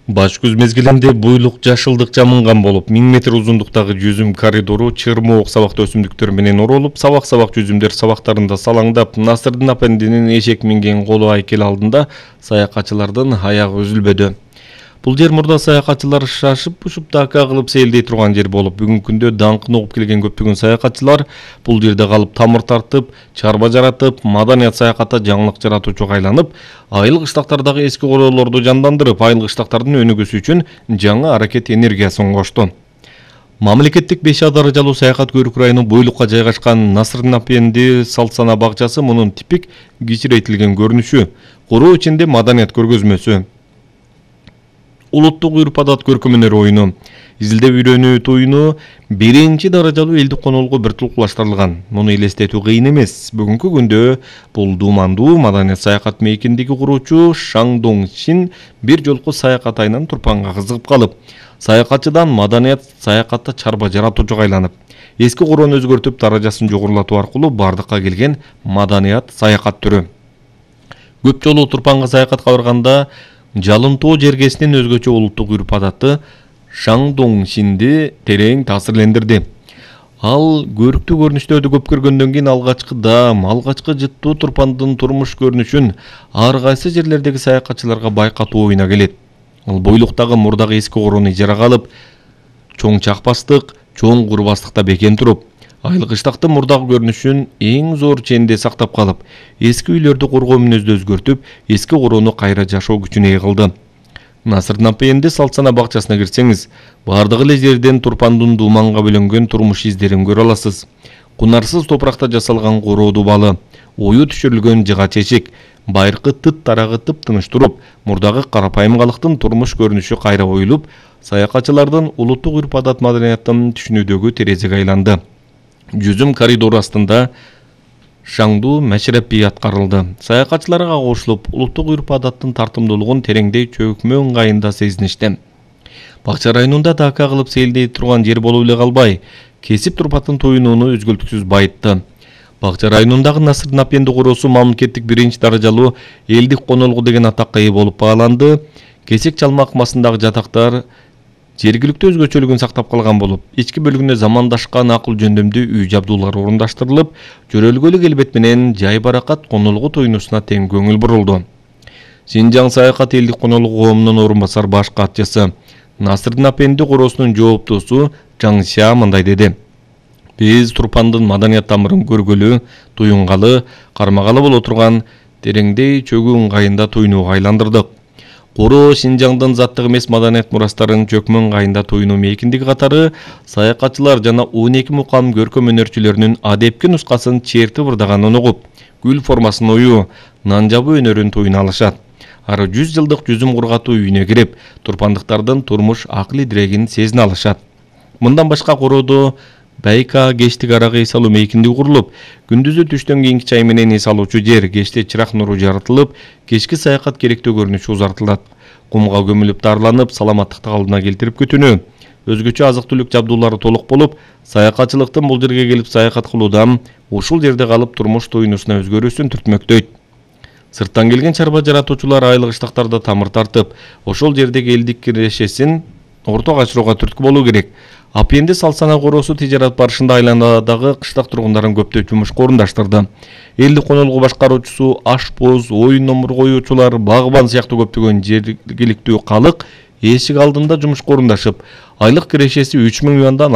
Баш күз мезгилинде буйлук жашылдык жамынган болуп, 1000 метр узундуктагы жүзүм коридору чырмоок сабактуу өсүмдүктөр менен оролуп, сабак жүзүмдөр сабактарында салаңдап, Насырдын апендинин эшек минген колу айкел алдында саякатчылардын аягы үзүлбөдү. Бул жер мурда саякатчылар шашып-пушуп дака кылып сейилдей турган жер болуп, бүгүнкү күндө даңкын угуп келген көптөгөн саякатчылар бул жерде калып тамыр тартып, чарба жаратып, маданият саякатта жаңылык жаратуучуга айланып, айыл кыштактардагы эски короолорду жандандырып, айыл кыштактардын өнүгүүсү үчүн жаңы аракет энергиясын кошту. Мамлекеттик 5 даражалуу саякат Көрүк районунун буйлукка жайгашкан Насырдын апенди Салсана бакчасы мунун типик кичирейтилген көрүнүшү, куруу ичинде маданият көргөзмөсү. Улуттук үрп-адат көркөм-өнөр оюну, изилдеп үйрөнүү туюну 1 даражалуу элдик конолугу бир тулкулаштырылган. Муну элестетүү кыйын эмес. Бүгүнкү күндө бул дуумандуу маданият саякат мейкиндиги куруучу Шаң Доңшин бир жолку саякат айынан Турпанга кызыгып калып, саякатчыдан маданият саякатта чарба жаратуучуга айланып, эски короону өзгөртүп, даражасын жогорулатуу аркылуу бардыкка келген маданият саякат түрү. Көп жолу Турпанга саякатка барганда Жалынтоо жергесинин өзгөчө улуттук үрп-адаты Шаң Доңшинди терең таасирлендирди. Ал көрүктүү көрүнүштөрдү көп көргөндөн кийин алгачкы жыттуу Турпандын турмуш көрүнүшүн ар кайсы жерлердеги саякатчыларга байкатуу оюна келет. Ал бойлуктагы мурдагы эски короону ижарага алып, чоң чакпастык, чоң курбастыкта бекен туруп, айыл кыштактын мурдагы көрүнүшүн эң зор ченде сактап калып, эски үйлөрдү коргоо мүнөздү өзгөртүп, эски короону кайра жашоо күчүнө ээ кылды. Насырдын апенди Салсана бакчасына кирсеңиз, бардык эле жерден Турпандын дууманга бөлөнгөн турмуш издерин көрө аласыз. Кунарсыз топуракта жасалган короо дубалы, ою түшүрүлгөн жыга чечик, байыркы тыт тарагы тыптыныч туруп, мурдагы карапайым калыктын турмуш көрүнүшү кайра оюлуп, саякатчылардын улуттук үрп-адат маданияттын түшүнүүдөгү терезеге айланды. Жүзүм коридору астында шаңдуу мәшрепи аткарылды. Саякатчыларга кошулуп, улуттук үрп-адаттын тартымдуулугун тереңдей чөкмө ыңгайында сезиништи. Бакча районунда дака кылып сейилдей турган жер болуп эле калбай, кесип Турпандын туюнууну үзгүлтүксүз байытты. Бакча районундагы Насырдын апенди короосу мамлекеттик 1 даражалуу элдик конолугу деген атакка ээ болуп бааланды. Кесек чалмак масындагы жатактар жергиликтүү өзгөчөлүгүн сактап калган болуп, ички бөлүгүнө замандашкан акыл жөндөмдүү үй жабдуулар орундаштырылып, жөрөлгөлүк элбет менен жай баракат конолугу туюнусуна тең көңүл бурулду. Синжаң саякат элдик конолугу коомунун орун басар баш катчысы Насырдын апенди короосунун жооптуусу Жаңша мындай деди: Биз Турпандын маданият тамырын көргөлү, туюнгалы, кармагалы боло турган тереңдей чөгүү ыңгайында туюнууга айландырдык. Короо Синжаңдын заттык эмес маданият мурастарын чөкмө ыңгайында туюнуу мейкиндиги катары саякатчылар жана 12 мукам көркөм өнөрчүлөрүнүн адепки нускасын чертип ырдаганын угуп, гүл формасын оюу, нан жабуу өнөрүн туюна алышат. Ары 100 жылдык жүзүм кургатуу үйүнө кирип, турпандыктардын турмуш акыл идирегин сезине алышат. Мындан башка короодо байка кештик аракы эс алуу мейкиндиги курулуп, күндүзү түштөн кийинки чай менен эс алуучу жер, кечте чырак нуру жаратылып, кечки саякат керектүү көрүнүшү узартылат. Кумга көмүлүп дарыланып, саламаттыкты калыбына келтирип күтүүнү, өзгөчө азык-түлүк жабдуулары толук болуп, саякатчылыктын бул жерге келип саякат кылуудан ушул жерде калып турмуш туюнусуна өзгөрүүсүн түртмөктөйт. Сырттан келген чарба жаратуучулар айыл кыштактарда тамыр тартып, ошол жердеги элдик кирешесин орто качырууга түрткү болуу керек. Апенди Салсана короосу тижарат барышында айланадагы кыштак тургундарын көптөп жумушка орундаштырды. Элдик конолугу башкаруучусу, ашпоз, оюн номур коюучулар, багбан сыяктуу көптөгөн жергиликтүү калык эшик алдында жумушка орундашып, айлык кирешеси 3000 юандан